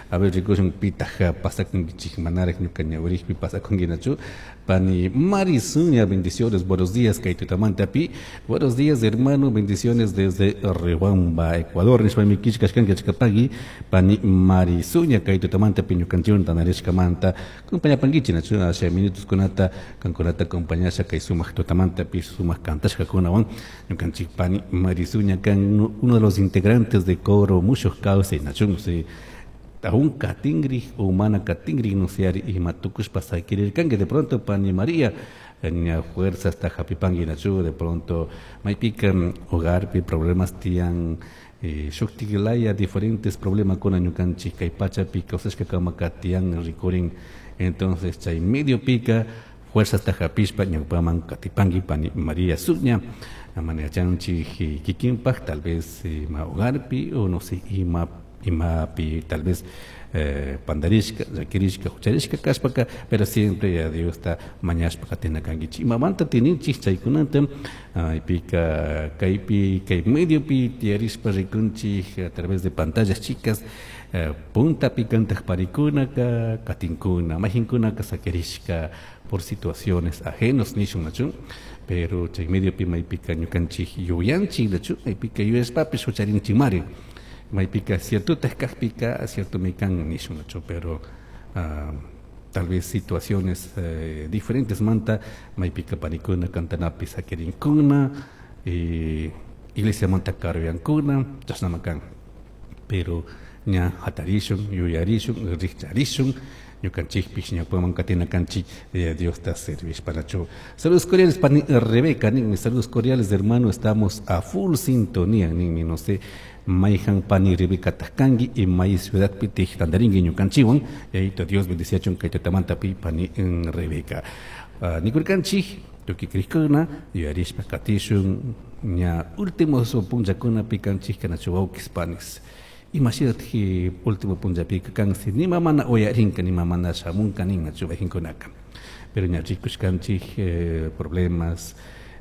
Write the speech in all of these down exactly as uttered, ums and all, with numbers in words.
A ver, rikushun pitaq pasakunkichik manaraq ñuka ñawirikpi pasakunkinachu. Pani Marisuña, bendiciones, buenos días, kay tutamantapi. Buenos días, hermano, bendiciones desde Riobamba, Ecuador. Nishpami killkashkanki achkapagui. Pani Marisuña, kay tutamantapi ñukanchikwan tantarishkamanta. Acompañapankichik nachu, asha minutos kunata, kankunata acompañasha kay sumaq tutamantapi, sumaq kantashkakunawan. Ñukanchik pani Marisuña kan uno de los integrantes de Coro Mushuj Kawsay, nachu, sí. Aún katingri o mana katingri no sé ima tukushpa sakirirkanki de pronto pani María ña fuerza hasta hapipanki nachu de pronto maypika hogarpi problemas tiyan eh, shuktiklaya diferentes problemas kuna ñukanchik kay pachapi kawsashkakama tiyan rikurin entonces chay medio pika fuerza hasta hapishpa ñawpaman katipanki pani María Suña mana yachanchik kikinpaj tal vez ima hogarpi o no sé ima imapi tal vez eh, pandarishka, llakirishka, hucharishka kashpaka, pero siempre ya Diosta mañashpa katina kankichik. Imamanta tininchik chaykunata, maypika kaypi, kay mediopi tiyarishpa rikunchik a través de pantallas chicas, eh, puntapi kantaj parikunaka, katinkuna, mayhinkunaka sakirishka por situaciones ajenos nishun nachu, pero chay mediopi maypika ñukanchik yuyanchik nachu, maypika yuyashpapish hucharinchikmari. Maypika cierto kajpika cierto mikan nishun nachu, pero uh, tal vez situaciones eh, diferentes manta maypika panikuna kantanapi sakirinkuna eh, iglesia manta karuyankuna chashnama kan pero ña hatarishun yuyarishun rikcharishun ñukanchikpish ñawpaman katina kanchik eh, Diosta servishpanachu. Saludos cordiales pani Rebeca, ninmi, saludos cordiales hermano, estamos a full sintonía, ninmi, no sé, mayhan pani Rebeca tajkanki y may ciudad pitij tantarinki ñukanchikwan, yayito Dios bendiciachun kay tutamantapi pani Rebeca. Uh, nikurkanchik tukuy krikuna yuyarishpa katishun ña últimos punllakunapi kanchik kanachu wawkis panis. Imashinatij último punllapika kan si nima mana uyarinka nima mana shamunka ninnachu wajinkunaka. Pero ña rikushkanchik eh, problemas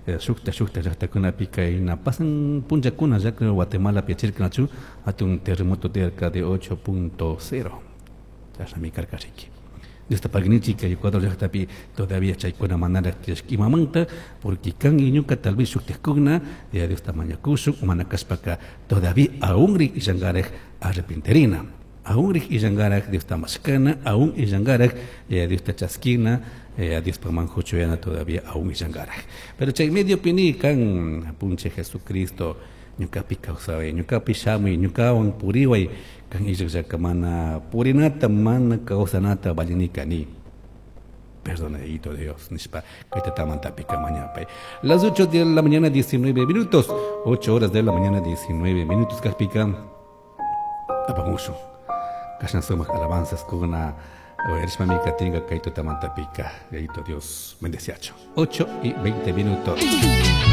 eh, shukta shukta llaqtakunapi kayna pasan punllakuna ya que Guatemala piachirkanachu hatun terremoto tiyarka de ocho punto cero. Chashnami karka riki. Diosta pagnichik kay Ecuador llaqtapi todavía chaykuna manaraq tiyashka imamanta porque kan iñuka tal vez shuktiqkuna ya Diosta mañakushun mana kashpaka todavía aún rik illankaraq arrepentirina, aún rik illankaraq Diosta mashkana, aún illankaraq ya Diosta chaskina, ya Diospaqman huchuyana todavía aún illankaraq. Pero chay medio pini kan apunche Jesucristo ñukapi kawsaway, ñukapi shamuy, ñukawan puriway, kan illaqllaka mana purinata, mana kawsanata valinika ni. Perdonadito Dios, nishpa, kay tutamantapi mañapay. Las ocho de la mañana, diecinueve minutos, ocho horas de la mañana, diecinueve minutos, kajpika, apamushun. Kashna sumaq alabanzas kuna, uyarishpami katinka kay tutamantapika, yayito Dios bendeciacho. Ocho y veinte minutos.